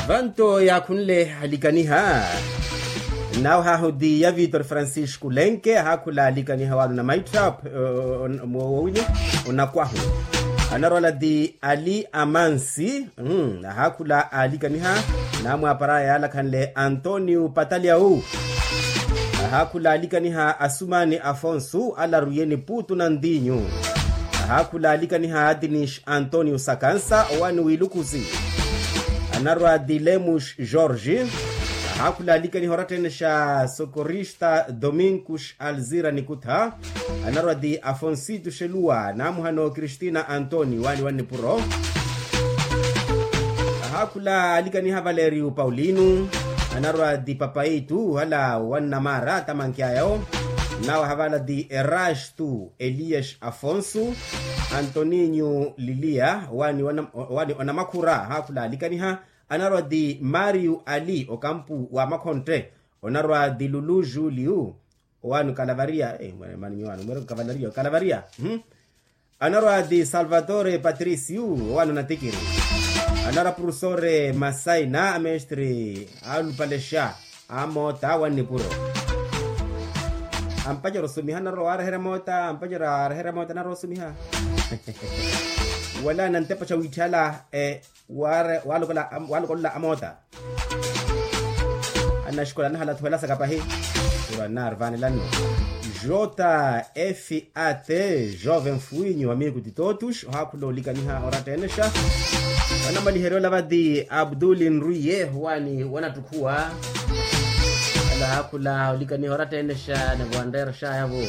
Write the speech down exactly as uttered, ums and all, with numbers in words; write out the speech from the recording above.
Vanto yaakhunle alikaniha. Nawe hahu ti ya vitor francisco lenke ahaakhula alikaniha wano na maitthap. Mwowinyo onakwahu. Anarwala ti ali amansi. Ahaakhula alikaniha. Namwaparaya yaalakhanle antonio pataliau. Ahaakhula alikaniha asumani afonso alarwiye ni puutu na ntinyu. Ahaakhula alikaniha atinis antonio sakansa owani wiilukhusi. Anarwa ti lemus jorge. Ahaakhula alikaniha oratthennexa sokorista dominkus alzira nikutha. Anarwa ti afonsito xeluwa naamuhano kristina antoni wani wannipuro. Ahaakhula alikaniha valerio paulino. Anarwa ti papaitu hala wannamara tamankyaya. Nawe havala ti erastu elias afonso antoninyo lilia wani onamakhura ahaakhula alikaniha. Anarwa ti mario ali okampu wa makhontte. Onarwa ti lulu julio owani okalavariya. Mwanimyo wani mwere okavalariya okalavariya. Anarwa ti salvatore patricio owani onatikiri. Anarwa purusore masaina amestre alupalexa amoota wannipuro. Ampacera osumiha anarwa waareherya moota ampacera waareherya moota anarwa osumiha. Wala nantepa xa wiitthala waalokolola amoota. Annaxikola anahalathuwela sakapahi. Ura narvanelano. Jota efi ate jove mfuwinyu amiku ti totus ohaakhula olikaniha oratteenexa. Anamaliherya olavati abduli nrwiye wani wanattukhuwa. Alahaakhula olikaniha oratteenexa ni vanreerexayavo.